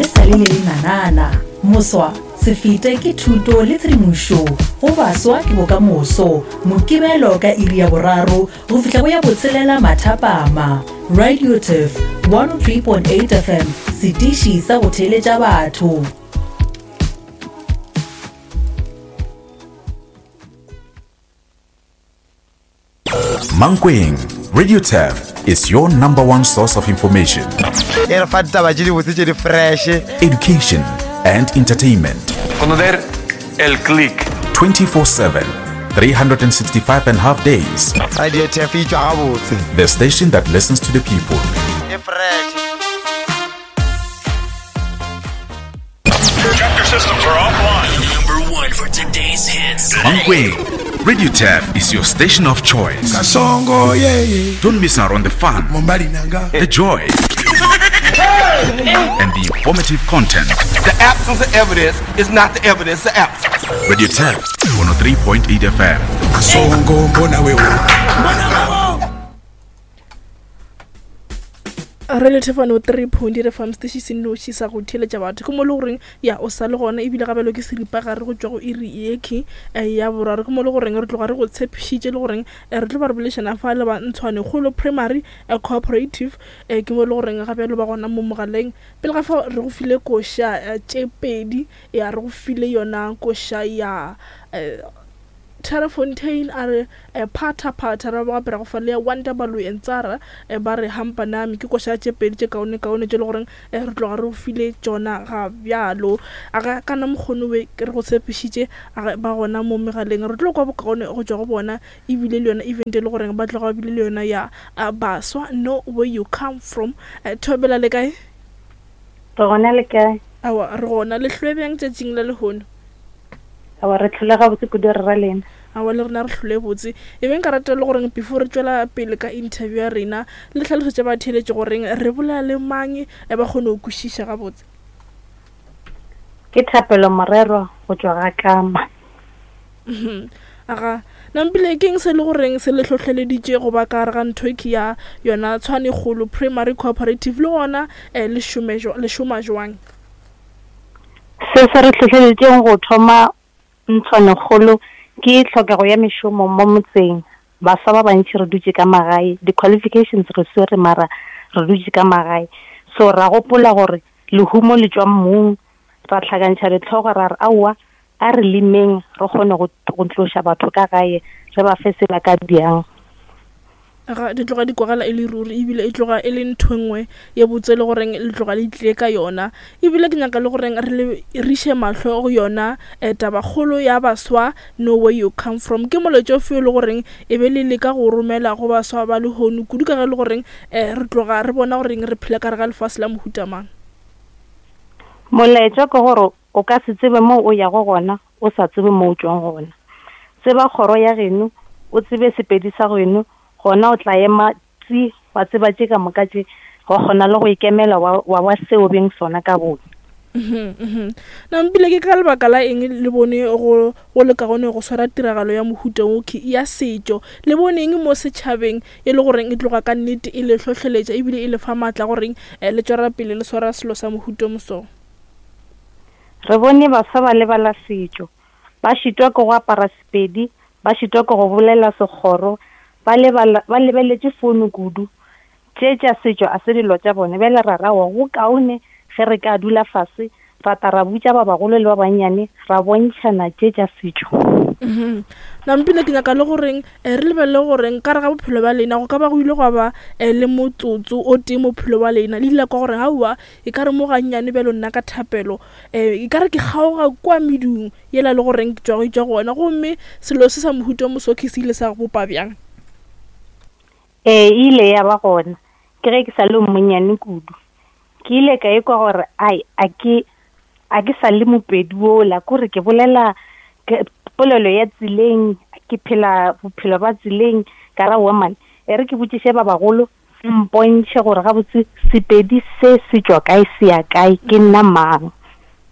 le sa le le lenanana. Moswa, se fete ke thuto le tshedimošo go baswa ke bokamoso. Mokibelo ka iri ya boraro go fihla go ya botshelela mathapama. Radio Turf 103.8 FM, setiši sa go theeletša batho. Mankweng, Radio Turf is your number one source of information. E re fa ditaba tše dibotse tše di fresh. Education and entertainment. Conocer el click. 24/7, 365 and half days. Radio Turf e tšwa gabotse. The station that listens to the people. E fresh. Check your systems are offline. Number one for today's hits. Mankweng, Radio Turf is your station of choice. Kasongo, yeah, yeah. Don't miss out on the fun, Mombali nanga. the joy, and the informative content. The absence of evidence is not the evidence of absence. Radio Turf 103.8 FM. Kasongo, mbona wewe. Re le thefano 3.8 FM station se nnoši sa go theeletša batho ke mo le goreng ya o sa le gona ebile gabelo ke seripagare go tšwa go iri yekhi eh, ya boraro ke mo le goreng re tloga re go tshepišitše le goreng eh, re tlo ba re bolešana fa le ba ntshwane kgolo primary eh, cooperative eh, ke mo le goreng gabelo ba gona mo mogaleng pele ga fa re go file koša eh, tše pedi ya re go file yona koša ya eh, Terrafontein a re Phatha phatha ra ba gape ra go fa le ya Wonder Baloyi and Tsara ba re Hampa Nami ke koša tše pedi tše kaone kaone tše le goreng re tloga re go file tšona ga bjalo. A ga kana mokgono we re go tshepišitše a ge ba gona mo megaleng re tlo kwa bokaone go tšwa go bona ebile le yona event e le goreng ba tloga ba bile le yona ya baswa know where you come from. Thobela le kae? Re gona le kae? Aowa re gona le hlwe bjang tšatšing la lehono? Aowa re hlole gabotse kudu re ra lena. Aowa le rena re hlole botse. E be nka rata le goreng before re tšwela pele ka interview ya rena le hlalosetše batheeletši goreng re bolela le mang e ba kgone go kwešiša gabotse. Ke Thapelo Morerwa go tšwa ga Kama. Aga, nampile ke eng se le goreng se le hlohleleditše go ba ka gare ga ntho e ya yona Tshwanekgolo Primary Cooperative le gona eh, le šome le šoma jwang? Se se re hlohleleditšeng go thoma ntlwanekgolo ke tlhokego ya mešomo mo motseng. Baswa ba bantši re dutše ka magae, di-qualifications re swere mara re dutše ka magae. So ra gopola gore lehumo le tšwa mmung, ra hlakantšha dihlogo ra re aowa a re lemeng re kgone go go tloša batho ka gae re ba fe se ba ka bjang. Ga di tloga di kwagala e le ruri ebile e tloga e le ntho e nngwe ye botse le goreng le tloga le tlile ka yona. Ebile ke nyaka le goreng re le riše mahlo go yona um tabakgolo ya baswa know where you come from. Ke molaetša ofe o le goreng e be le leka go romela go baswa ba lehono kudu ka ge e le goreng um re tloga re bona goreng re phela ka gare ga lefase la mohuta mang? Molaetša ke gore o ka se tsebe moo o yago gona o sa tsebe mo o tšwang gona. Tseba kgoro ya geno, o tsebe Sepedi sa geno, gona o tla ema tsi wa tseba tše ka moka tše, wa kgona le go ikemela wa, wa ba seo beng sona ka bone. Mhm, mhm. Nampile ke ka lebaka la eng le bone go, go le kaone go swara tiragalo ya mohuta wo ke ya setšo? Le bone eng mo setšhabeng e le goreng e tloga ka nnete e le hlohleletša ebile e le fa maatla goreng eh, le tšwela pele le swara selo sa mohuta o moso? Re bone baswa ba lebala setšo, ba šitwa ke go apara Sepedi, ba šitwa ke go bolela Sekgoro, ba lebala, ba lebeletše founu kudu. Tše tša setšo a se dilo tša bona. Bjale ra re aowa, go kaone ge re ka dula fase ra tla ra botša ba bagolo le ba bannyane, ra bontšhana tše tša setšo. Mhm. Nampile ke nyaka le goreng eh, re lebelele goreng ka re ga bophelo bja lena go ka ba go ile gwa ba eh, le motsotso o tee mo bophelo bja lena le ile la kwa gore aowa E ka re mo gannyane bjalo nna ka thapelo, um e ka re ke kgaoga kua medung yela le goreng ke tšwa go etšwa gona. Gomme selo se sa mohuta o mosokhi se ile sa bopa bjang? Ee, e ile ya ba gona. Ke ge ke sa le monnyane kudu. Ke ile ka ikwa gore ai, a ke, a ke sa le Mopedi wola, kore ke bolela ke, polelo ya tseleng, ke phela bophelo ba tseleng. Ka ra, aowa man, e re ke botšiše ba bagolo Mpontšhe gore gabotse Sepedi se se tšwa kae se ya kae, ke nna mang.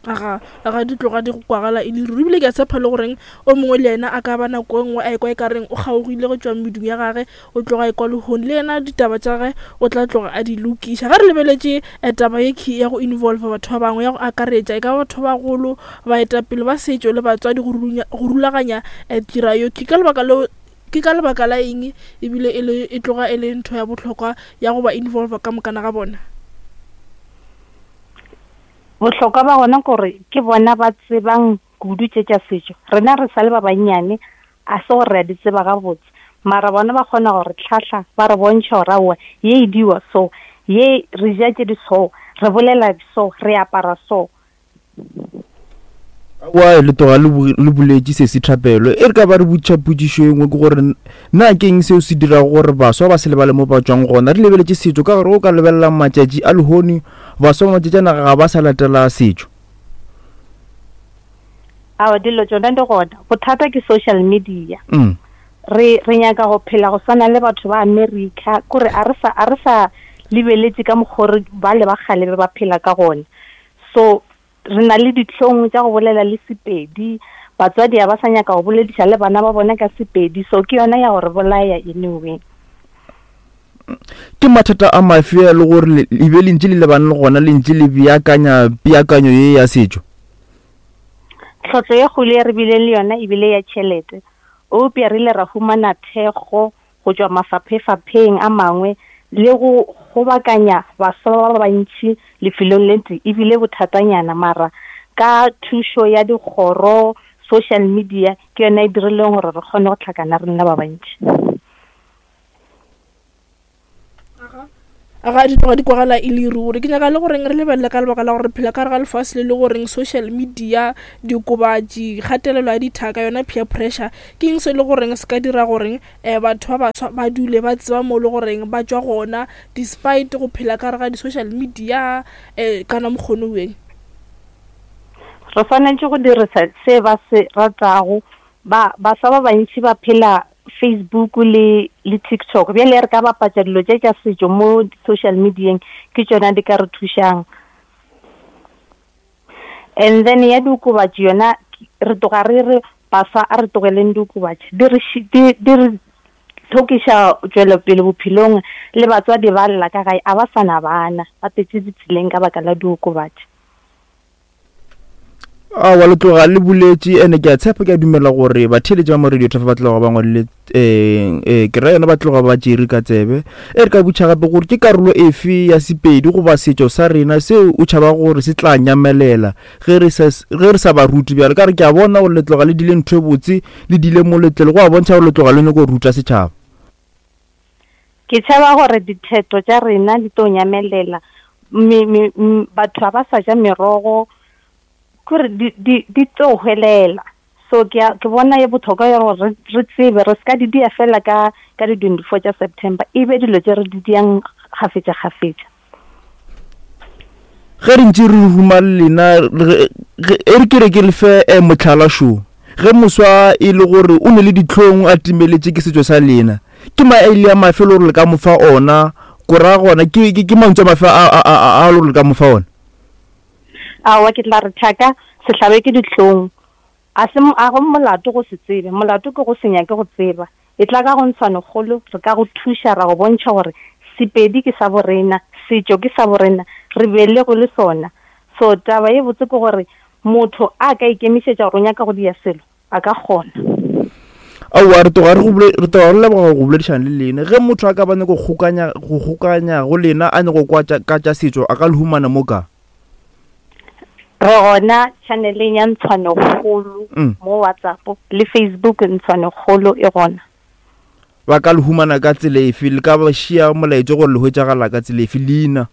Aga, aga di tloga di go kwagala e le ruri. Ebile ke a tshepa le goreng o mongwe le yena a ka ba nako e nngwe a ekwa e ka reng o kgaogile go tšwa medung ya gage, o tloga a ekwa lehono. Le yena ditaba tša gage o tla tloga a di lokiša. Ge re lebeletše eh, taba ye key ya go involve batho ba bangwe, ya go akaretša e ka ba batho ba bagolo, baetapele ba setšo le batswadi go runya, go rulaganya eh, tira yo key. Ka lebaka leo, ke ka lebaka la eng ebile e le e tloga e le ntho ya bohlokwa ya go ba involve ka mokana ga bona? Bohlokwa ba gona ke gore ke bona ba tsebang kudu tše tša setšo. Rena re sa le ba bannyane, a se gore re a di tseba gabotse. Mara bona ba kgona go re hlahla, ba re bontšha gore aowa, ye e diwa so, ye re ja tše di so, re bolela so, re apara so. Aowa, le tloga le boletše sesi Thapelo. E re ka ba re botšiša potšišo e nngwe ke gore na ke eng seo se dirago gore baswa ba se lebale mo ba tšwang gona? Re lebeletše setšo ka gore o ka lebelela matšatši a lehono baswa ba matšatši a naga ga ba sa latela setšo. Aowa, dilo tšona di gona. Bothata ke social media. Re, re nyaka go phela go swana le batho ba America, kore a re sa, a re sa lebeletše ka mokgo re bale ba kgale be ba phela ka gona. So Re na le dihlong tša go bolela le Sepedi. Batswadi ga ba sa nyaka go bolediša le bana ba bona ka Sepedi, so ke yona ya go re bolaya anyway. Ke mathata a mafe a le gore le be le ntše le lebane le gona le ntše le beakanya peakanyo ye ya setšo? Tlhotlo ye kgolo ye re bileng le yona e bile ya tšhelete, eupša re ile ra humana thekgo go tšwa mafaphefapheng a mangwe le go kgobakanya baswa ba bantši lefelong le tee e bile bothatanyana mara ka thušo ya dikgoro, social media ke yona e dirileng gore re kgone go hlakana re nna ba bantši. Ga di tloga di kwagala e le ruri. Ke nyaka le goreng re lebelele ka lebaka la gore re phela ka gare ga lefase le le goreng social media, diokobatši, kgatelelo ya dithaka, yona peer pressure, ke eng se e le goreng se ka dira goreng um batho ba baswa ba dule ba tseba mo e le goreng ba tšwa gona despite go phela ka gare ga di-social media um kana mokgono weng? Re swanetše go dirisa se ba se ratago. Ba, baswa ba bantši ba phela Facebook le le TikTok. Bjale re ka bapatša dilo tše tša setšo mo social medieng, ke tšona di ka re thušang. And then ya diokobatši yona re tloga re re baswa a re tlogeleng diokobatši, di re di di re hlokiša tšwelopele bophelong, le batswadi ba lla ka gae a ba sa na bana, ba tletše ditseleng ka baka la diokobatši. Aowa, le tloga le boletše ene ke a tshepa ke a dumela gore batheeletši ba mo radio Tafa ba tloga ba ngwadile um ke ra yona ba tloga ba tšere ka tsebe. E re ka botša gape gore ke karolo efe ya Sepedi goba setšo sa rena seo o tšhabago gore se tla nyamelela ge re sa ge re sa ba rute bjalo ka re ke a bona gore le tloga le dile ntho e botse le dile moletlelo go a bontšha gore le tloga le nyako ruta setšhaba. Ke tšhaba gore ditheto tša rena di tlo nyamelela. Me, me, m, batho ga ba sa ja merogo, kore di, di, di tlo hwelela. So ke a, ke bona ye bohlokwa ya gore re, re tsebe, re se ka di dia fela ka, ka di 24 tša September, e be dilo tše re di diang kgafetša kgafetša. Ge re ntše re ruma le lena, e re ke re ke le fe eh, mohlala šo. Ge moswa e le gore o ne le dihlong a timeletše ke setšo sa lena, ke maele a mafe le gore le ka mo fa ona? Ko ra gona ke, ke, ke mantšu a mafe a, a, a, a le gore le ka mo fa ona? Aowa, ke tla re thaka, se hlabe ke dihlong. A se, a go molato go se tsebe, molato ke go se nyake go tseba. Etla ka go Ntshwanekgolo, re ka go thuša ra go bontšha gore Sepedi ke sa borena, setšo ke sa borena, re belegwe le sona. So taba ye botse ke gore motho a ka ikemišetša gore o nyaka go dia selo, a ka kgona. Aowa, re tloga re go re tloga re leboga go boledišana le lena. Ge motho a ka ba nyako kgokanya, go kgokanya go lena a nyako kwa tša, ka tša setšo, a ka le humana mo ka? Re gona channeleng ya Ntshwanekgolo mm. mo WhatsApp le Facebook Ntshwanekgolo e gona. Ba ka le humana ka tsela efe? Le ka ba šia molaetša gore le hwetšagala ka tsela efe leina?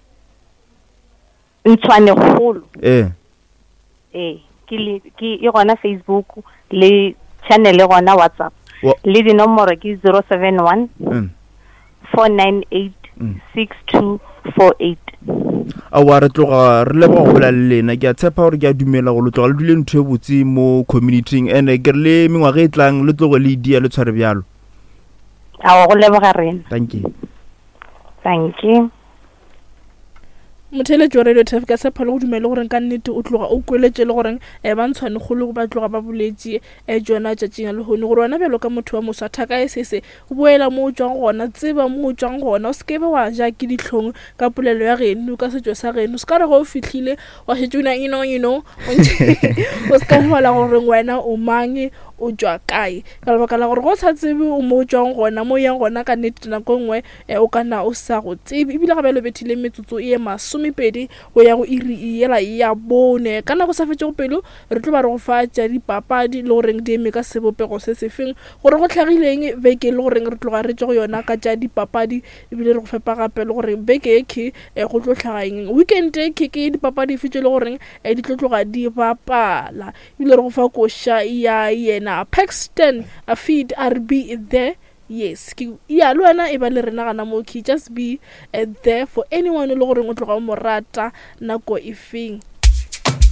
Ntshwanekgolo. Ee. Ee, ke le ke e gona Facebook le channel e gona WhatsApp. Le dinomoro ke 071 mm. 498 6248. Aowa, re tloga re leboga go bolela le lena. Ke a tshepa gore ke a dumela gore le tloga le dule ntho e botse mo communityng and ke re le mengwaga e tlang le tloge le idia le tshware bjalo. Aowa, go leboga rena. Thank you. Thank you. Motheeletši wa Radio Turf, ke a tshepa le go dumela le goreng ka nnete o tloga o kweletše le goreng um ba ntshwane kgolo ba tloga ba boletše um tšona tšatšing la lehono gore wena bjalo ka motho wa moswa thaka e sese boela mo o tšwang gona, tseba mo o tšwang gona, o se ke be wa ja ke dihlong ka polelo ya geno, ka setšo sa geno. Se ka re ge o fihlile wa šetše o na you know, you know, o se ka lebala goreng wena o mang, o tšwa kae, ka lebaka la gore ge o sa tsebe o mo o tšwang gona, mo o yang gona ka nnete nako e nngwe E, o ka na o sa go tsebe. Ebile ga bjalo bethile metsotso e masomepedi go ya go iri yela ya bone. Ka nako sa fetšego pelo, re tlo ba re go fa tša dipapadi le goreng di eme ka sebopego se sefeng, gore go hlagileng beke le goreng re tloga re tšwa go yona ka tša dipapadi, ebile re go fepa gape le gore beke ye khe e, go tlo hlaga eng. Weekend e khe ke dipapadi efe tše le goreng e, di tlo tloga di bapala. Ebile re go fa koša ya yena Paxton a feed a re be there. Yes, ke ya le wena e ba le rena gana mo key just be uh, there for anyone le goreng o tloga o mo rata nako e feng.